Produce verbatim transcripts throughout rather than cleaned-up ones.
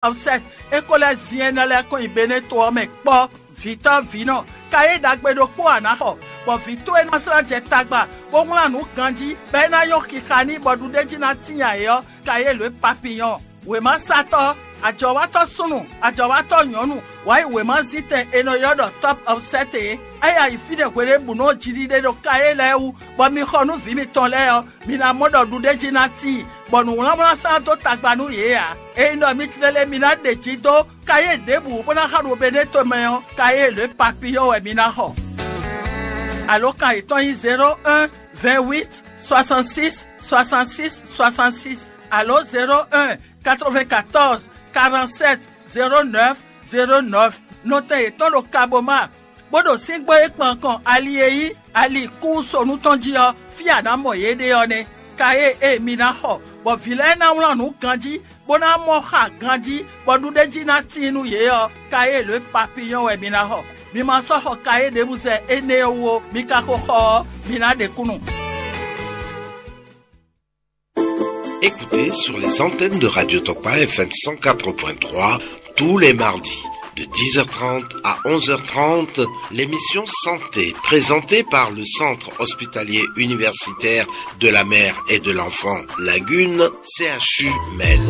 Awusɛ́t, é ko lɛ́ zin énɛ́ lɛ́ɛ kɔn nyi Beneto ɔ́ mɛ kpɔ́. Vǐtɔ́ vǐnɔ, ka e ɖagbe ɖokpó a nǎ xɔ, bɔ vǐ towe ná slá jɛ tagba, bó wlán nǔ ganjí, bɔ é ná nyɔ́ xixa n'i, bɔ ɖuɖéjí ná tíin ayǐ ɔ́, ka e lǒ e papiyɔ́n. Wěmasatɔ́, ajɔ̌watɔ́ súnnu, ajɔ̌watɔ́ nyɔ̌nu, wǎ yi wěmazítɛn e nɔ ylɔ́ ɖɔ Tɔ́p Awusɛ́t é. É yi ayǐ fínɛ́ hweɖěbǔnu ɔ́ jiɖiɖe ɖo ka e lɛ́ɛ wú, bɔ mi xɔ nú vǐ mitɔn lɛ́ɛ ɔ́, mi ná mɔ ɖɔ ɖuɖéjí ná tíin, bɔ nǔwlánwlán sán dó tagba nú yě ǎ. Ényí ɖɔ mi tlélé mi ná ɖe jǐ dó kayé ɖěbǔ bó ná xa ɖo Beneto mɛ ɔ́, kayé lě papiyɔ́ wɛ mi ná xɔ. Alǒkan yětɔn nyí zéro un, vingt huit, soixante six, soixante six, soixante six, alo zéro un, quatre vingt quatorze, quarante sept, zéro neuf, zéro neuf. Nɔtɛn yětɔn ɖo Kaboma, bó ɖo síngbó e kpan kɔn ali e nyí ali kúsonu tɔn jí ɔ́, fí a nǎ mɔ yě ɖe ɔ́ nɛ́. Ka e e mi ná xɔ, bɔ vǐ lɛ́ɛ ná wlán nǔ ganjí, bó ná mɔ xa ganjí, bɔ ɖuɖéjí ná tíin nú yě ɔ́, ka e lǒ e papiyɔ́n wɛ mi ná xɔ. Mi ma sɔ́ xɔ ka e ɖěbǔ zɛ énɛ́ ɔ́ wú ó, mi ka ko xɔ ɔ́, mi ná ɖe kúnnu. Écoutez sur les antennes de Radio Tokpa F M cent quatre point trois tous les mardis de dix heures trente à onze heures trente l'émission Santé présentée par le Centre hospitalier universitaire de la mère et de l'enfant Lagune, C H U Mel.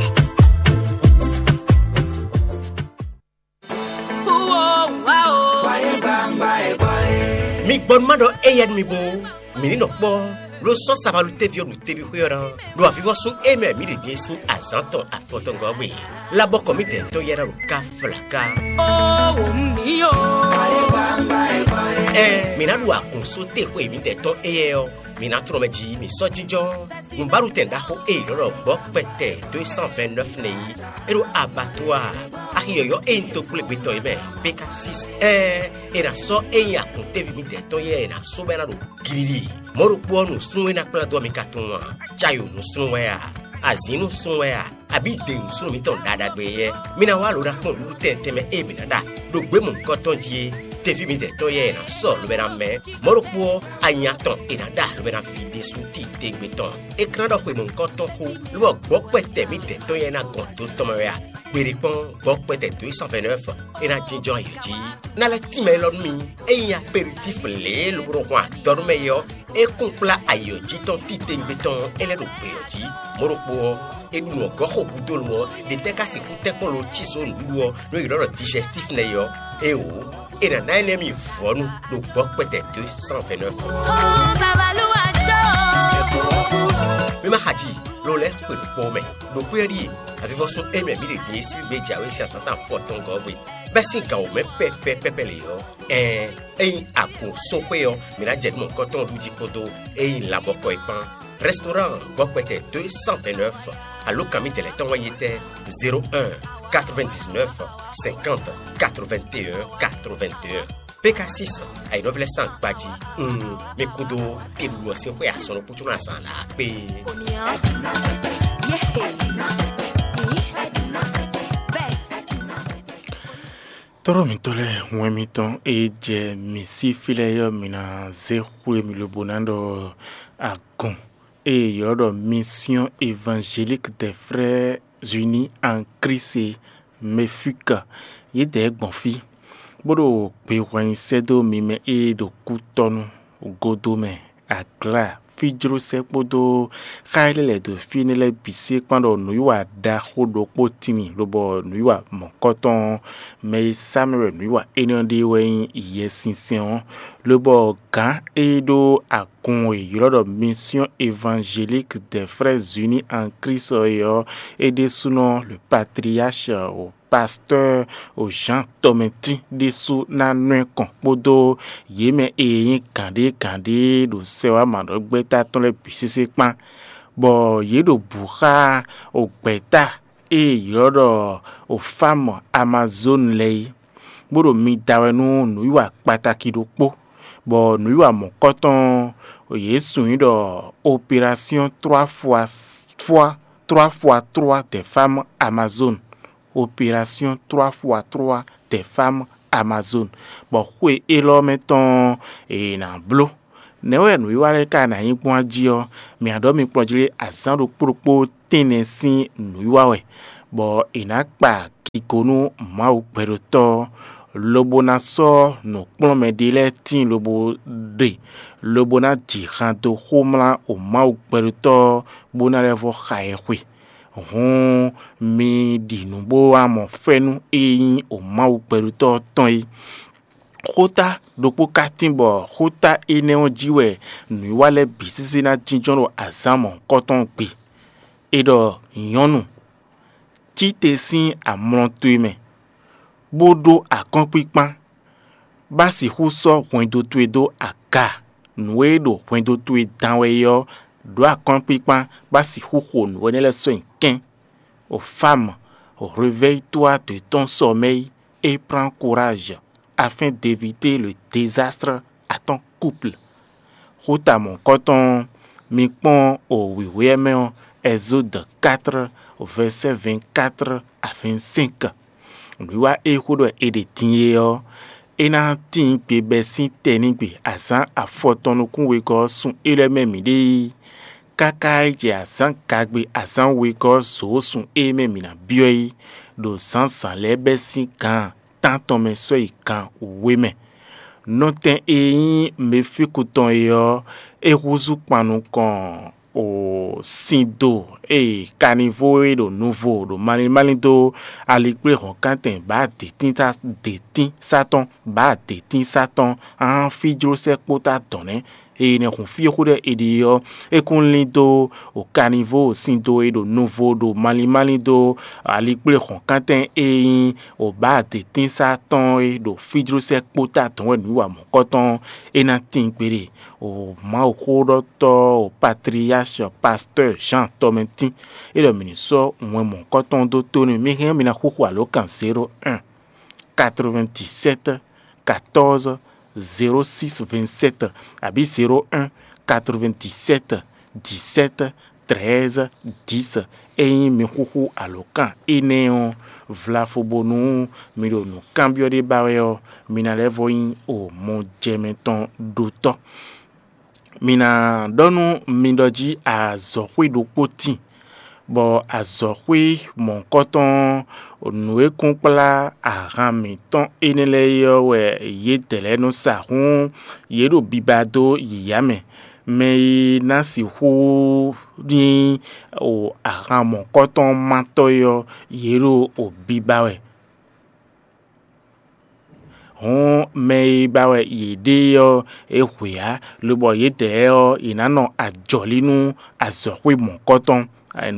Mi gbɔ nú má ɖɔ éyɛ́ nú mi bó, mǐ ní nɔ kpɔ́, ló sɔ́ sabalú téví ɔ́ ɖo teví xwé ɔ́ ná, ɖo avivɔ́sún e mɛ mǐ ɖě dín sín azǎn tɔn afɔtɔngɔ́ gbe. Labɔkɔ mǐdɛɛ tɔn yɛ́ ná ɖo ká flaká. Ó wò mǐ o. Ɛɛ, mǐ ná ɖu akǔnso te xwe mǐdɛɛ tɔn éyɛ́ ɔ́, mǐ ná tlɔ́n mɛ jí mǐ sɔ́ jínjɔ́n. Nǔbáɖutɛn ɖaxó e è nɔ ɖɔ gbɔ̌ kpɛtɛ dó cent vingt-neuf nɛ́ yí, é ɖo abattoir axi yɔ̌yɔ́ e nyí toxwlégbetɔ́ é mɛ, P K six. Ɛɛ, è nǎ sɔ́ e nyí akun téví mǐdɛɛ tɔn yɛ́ è nǎ sɔ́ bɔ é ná ɖo glílí. Mɔ̌ ɖokpó ɔ́, nǔsúnnú e ná kplá dó ɔ́ mi ka tunwun a? Cayo nǔsúnnú wɛ a? Azǐn nǔsúnnú wɛ a? Abǐ dě nǔsúnnú mǐtɔn ɖaɖagbe yɛ́? Mi ná wá lǒ ná kpɔ́n nǔɖuɖu tɛntɛn mɛ e mǐ ná ɖa ɖo gběmɔ̌kɔ́tɔn jí é. Teví mǐdɛɛ tɔn yɛ́ è nǎ sɔ́ lobɛ ná mɛ. Mɔ̌ ɖokpó ɔ́, anya tɔn è nǎ ɖa lobɛ ná ví ɖésú titewungbe tɔn. É ka ná ɖɔ xwe mɔ̌hunkɔtɔn xó, lobɔ gbɔ̌ kpɛtɛ mǐdɛɛ tɔn yɛ́ ná gɔn dó tɔn mɛ wɛ a? Gbeɖé kpɔ́n, gbɔ̌ kpɛtɛ dó yi cent vingt-neuf, é ná jínjɔ́n ayǐ jí. Ná lɛ́ tínmɛ élɔ́ nú mi. Ényí aperitíf lě lobo nɔ hwan adɔ nú mɛ é ɔ́, é kún kplá ayǐ ɔ́ jí tɔn titewungbe tɔn é lɛ́ ɖo gbě ɔ́ jí. Mɔ̌ ɖokpó ɔ́, é ɖu nǔ ɔ́ gɔ́ xo gúdo nu ɔ́, ɖě tɛ́ ka sixú tɛ́ kpɔ́n lo cí zǒ nǔɖuɖu ɔ́ nú è ylɔ́ ɖɔ digestif nɛ́ é ɔ́? Éeǒ, é ná ná énɛ́ mi vɔ̌nu ɖo gbɔ̌ kpɛtɛ deux cent vingt-neuf. Mi ma xa ji, lo lɛ́ xwe ɖo kpɔ́ mɛ. Ɖo xwé ɔ́ ɖíe avivɔ́sún émɛ mǐ ɖe din e sín gbé jǎwe sín azǎn tɔn afɔtɔngɔ́ gbe, bɛ́ sín gǎn wǒ mɛ pɛ́pɛ́ pɛ́pɛ́ lě ɔ́, ɛɛn, ényí agun sɔ́xwé ɔ́, mǐ ná jɛ nǔ mɔ̌hunkɔtɔn ɔ́ ɖu jí kpódó ényí labɔkɔ é kpán. Restaurant gbɔkpɛtɛ deux cent vingt-neuf, alo kan mi tɛlɛ tɔn wɛ nyí tɛ: zéro un, quatre-vingt-dix-neuf, cinquante, quatre-vingt-un, quatre-vingt-un. P K six, ayǐnɔvlɛ́ san gbají. Mm, mi kúdó keɖuɖu ɔ́ sín xwé asɔn ɖokpó có ná zán lǎ kpé. Tɔ́ɖɔ mǐtɔn lɛ́ɛ, wɛn mitɔn e jɛ mǐ sí fí lɛ́ɛ ɔ́, mǐ ná zé xwé mi lobo ná ɖɔ agun e è ylɔ́ ɖɔ Mission Évangélique des Frères Unis en Christ, MEFUC, yědɛɛ gbɔn fí, bó ɖo gbehwannyi sɛ́ dó mi mɛ e ɖo kútɔ́nú, godomɛ, aglá, fíjlósɛ́ kpódó xá e lɛ́ lɛ̌ dó fí énɛ́ lɛ́ɛ bǐ sí é kpán ɖɔ nǔwiwa ɖaxó ɖokpó tíin mì, lobɔ nǔwiwa mɔ̌kɔtɔn ɔ́, mɛ e sá mì wɛ nǔwiwa énɛ́ ɔ́ ɖe wɛ nyí Yɛsinsɛn ɔ́, lobɔ gǎn e ɖó agun e è ylɔ́ ɖɔ Mission Évangélique des Frères Unis en Christ ɔ́ é ɔ́, é ɖésúnɔ le patriarche pasteur Jean Tɔmɛtín ɖésú ná nɔ ɛ kɔn kpódó yě mɛ e nyí gǎnɖé gǎnɖé ɖo sɛwámaɖɔgbɛ́ta tɔn lɛ́ɛ bǐ sésé kpán, bɔ yě ɖo bǔ xá gbɛ̌ta e è ylɔ́ ɖɔ Ofámu Amazónu lɛ́ɛ é, bó ɖo mi da wɛ nú nǔwiwa kpataki ɖokpó, bɔ nǔwiwa mɔ̌kɔtɔn yě sun nyí ɖɔ opération trois fois trois, trois fois trois des femmes Amazones, opération trois fois trois des femmes Amazones, bɔ xwe élɔ́ mɛ tɔn è nǎ bló. Nɛ̌ wɛ nǔwiwa lɛ́ɛ ka ná nyí gbɔn jí ɔ́, mǐ ná ɖɔ mi kplɔ́n jí lé azǎn ɖokpó ɖokpó tɛ́nnɛ sín nǔwiwa wɛ, bɔ è nǎ kpa yi go nú Mawu gbɛɖotɔ́ ɔ́, lobo ná sɔ́ nǔkplɔ́nmɛ ɖé lɛ́ɛ tíin lobo ɖe, lobo ná ji han dó xomlá o Mawu gbɛɖotɔ́ ɔ́, bó ná lɛ́ vɔ́ xa ɛ xwe. Hǔn mi ɖi nǔ bó wá mɔ fɛ́nú e nyí o Mawu gbɛɖotɔ́ ɔ́ tɔn é. Xóta ɖokpó ka tín bɔ xóta énɛ́ ɔ́ jí wɛ nǔwiwa lɛ́ɛ bǐ sésé ná jínjɔ́n ɖo azǎn mɔ̌hunkɔtɔn gbe. È ɖɔ nyɔ̌nu, Títe sín amlɔ towe mɛ, bó ɖó akɔ́nkpíkpán, bá sixú sɔ́ hwɛndo towe dó aga. Nǔ e ɖo hwɛndo towe dán wɛ é ɔ́, ɖǒ akɔ́nkpíkpán, bá sixú xo nǔ énɛ́ lɛ́ɛ sɔ́ nyi kɛ́n. O femme, réveille-toi de ton sommeil et prends courage afin d'éviter le désastre à ton couple. Xóta mɔ̌hunkɔtɔn ɔ́, mi kpɔ́n o wěwé ɔ́ mɛ ɔ́, Exode quatre, verset vingt-quatre à vingt-cinq. Nǔwiwa e xó ɖɔ è ɖe din é ɔ́, é ná tíin gbe bɛ́ sín tɛnígbe azǎn afɔtɔn nukún wegɔ́ ɔ́ sun é lɛ́ɛ mɛ mǐ ɖe yi. Káká yi jɛ azǎn gagbe azǎn wegɔ́ ɔ́ zǒ sun é mɛ mǐ ná byɔ́ yi, ɖo zǎnzǎn lɛ́ɛ bɛ́ sín gan tántɔn mɛ sɔ́ yi gan wěwe mɛ. Nɔtɛn e nyí Mefíku tɔn é ɔ́, é húzú kpan nukɔn o sin do e kanivo e ɖo nuvo ɖo malín malín dó alikpléhɔ̌nkántɛn bǎ dětínsá tɔn bǎ dětínsá tɔn, ahán fíjlósɛ́ kpódó adɔ̌n nɛ́. Eye nɛ́ hun fí e xó ɖɔ è ɖe ɔ́, é kún lín dó o kanivo sin do e ɖo nuvo ɖo malín malín dó alikpléhɔ̌nkántɛn e nyí o bǎ dětínsá tɔn e ɖo fíjlósɛ́ kpódó adɔ̌n wɛ nǔ yi wa mɔ̌kɔtɔn. É ná tíin kpéɖé. O Mawuxóɖɔtɔ́, o patriyaxɛ, pastɔ́ɔ Jean tɔmɛtín, é ɖɔ mǐ ní sɔ́ wɛn mɔ̌kɔtɔn dó tó n'i. Mi hɛn ɔ́, mi ná xúxú alǒkan zéro un, quatre-vingt-dix-sept, quatorze, zéro six, vingt-sept, abǐ zéro un, quatre-vingt-dix-sept, dix-sept, treize, dix. Ényí mi xúxú alǒkan énɛ́ ɔ́, vlafo bónú mi ɖo nǔkanbyɔ́ ɖé ba wɛ ɔ́, mi ná lɛ́ vɔ nyí o mɔjɛmɛ tɔn ɖotɔ́. Mi ná ɖɔ nú mi ɖɔ jí azɔ̌xwé ɖokpó tíin, bɔ azɔ̌xwé mɔ̌hunkɔtɔn ɔ́, nǔ e kún kplá ahan mǐtɔn énɛ́ lɛ́ɛ é ɔ́ wɛ yědɛɛ lɛ́ɛ nɔ sa. Hǔn yě ɖo biba dó yǐyá mɛ. Mɛ e ná sixú nyí o ahan mɔ̌hunkɔtɔn mátɔ́ é ɔ́, yě ɖo o biba wɛ. Hǔn mɛ e ba wɛ yě ɖe ɔ́, é hwe ǎ, lobɔ yědɛɛ ɔ́, yě ná nɔ ajɔ̌lí nú azɔ̌xwé mɔ̌kɔtɔn,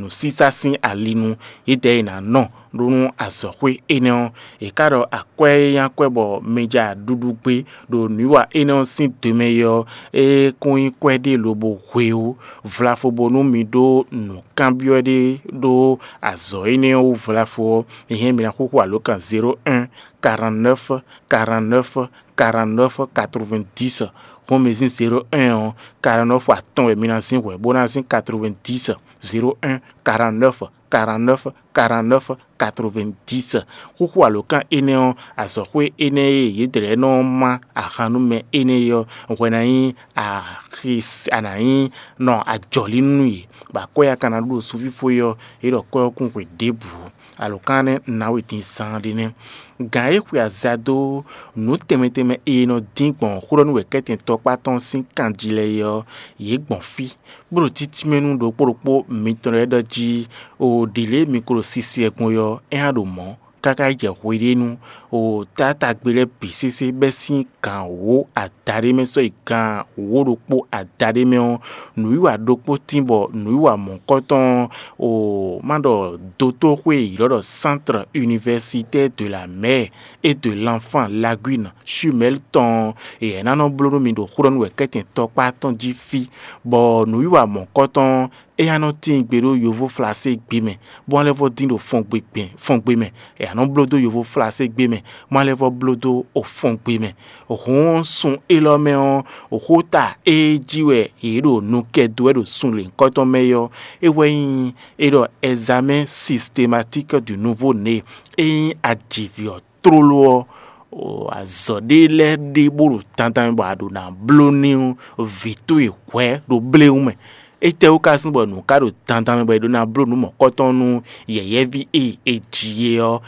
nǔsísá sín ali nu. Yědɛɛ yě ná nɔ ɖó nú azɔ̌xwé énɛ́ ɔ́. È ká ɖɔ akwɛ́ e nyí akwɛ́ bɔ mi ja ɖuɖu gbé ɖo nǔwiwa énɛ́ ɔ́ sín do mɛ é ɔ́, é kún nyí kwɛ́ ɖé lobo hwe ó. Vlafo bónú mi ɖó nǔkanbyɔ́ ɖé ɖó azɔ̌ énɛ́ ɔ́ wú vlafo ɔ́, mi hɛn mi ná xúxú alǒkan zéro un, quarante-neuf, quarante-neuf, quarante-neuf, quatre-vingt-dix. Hɔn mi zín zéro un ɔ́, quarante-neuf atɔn wɛ mi ná zín hwɛ̌ bó ná zín quatre-vingt-dix. Zéro un, quarante-neuf, quarante-neuf, quarante-neuf, quatre-vingt-dix. Xúxú alǒkan énɛ́ ɔ́, azɔ̌xwé énɛ́ e yědɛɛ nɔ má ahan nú mɛ énɛ́ é ɔ́, hwɛ ná nyí axi a nǎ nyí nɔ ajɔ̌lí nú yě, bɔ akwɛ́ e a ka ná ɖu ɖo sunfífó é ɔ́, é ɖɔ kwɛ́ ɔ́ kún hwe ɖěbǔ. Alǒkan énɛ́ ná we din zaan ɖé nɛ́. Gǎn e xwe aza dó nǔ tɛnmɛ tɛnmɛ e è nɔ dín gbɔn xó ɖɔ nú wɛ̌kɛ́tɛn tɔkpá tɔn sín kan jí lɛ́ɛ é ɔ́, yě gbɔn fí, bó ɖo títínmɛ nú ɖokpó ɖokpó mitɔn lɛ́ɛ ɖɔ jí, o ɖě lě mi ko ɖo sisi wɛ gbɔn é ɔ́, é hán ɖo mɔ̌, káká yi jɛ hweɖénu, o taátagbe lɛ́ɛ bǐ sésé bɛ́ sín gǎn wǒ adaɖé mɛ sɔ́ yi gǎn wǒ ɖokpó adaɖé mɛ ɔ́, nǔwiwa ɖokpó tín bɔ nǔwiwa mɔ̌kɔtɔn ɔ́, o má ɖɔ dotóxwé e ylɔ́ ɖɔ Centre Universitaire de la Mère et de l'Enfant Lagune Chumel tɔn ɔ́, yě ná nɔ bló nú mi ɖo xó ɖɔ nú wɛ̌kɛ́tɛn tɔkpá tɔn jí fí, bɔ nǔwiwa mɔ̌kɔtɔn ɔ́, é ná nɔ tíin gbe ɖó yovó flaségbé mɛ, bó ná lɛ́ vɔ́ dín ɖo fɔngbe mɛ. É ná nɔ bló dó yovó flaségbé mɛ, bó ná lɛ́ vɔ́ bló dó fɔngbe mɛ. Hǔn sun élɔ́ mɛ ɔ́, xóta e jí wɛ yě ɖo nu kɛ dó wɛ ɖo sun lěhunkɔtɔn mɛ é ɔ́, é wɛ nyí é ɖɔ examen systématique du nouveau né. É nyí ajivǐ ɔ́ tlóló ɔ́, azɔ̌ ɖé lɛ́ɛ ɖe bó ɖo dandan mɛ bɔ a ɖo ná bló n'i vǐ towe hwɛ̌ ɖo bléwún mɛ. Étɛ́wú ka sín bɔ nǔ ka ɖo dandan mɛ bɔ è ɖó ná bló nǔ mɔ̌kɔtɔn nú yɛ̌yɛ́ví e è ji é ɔ́?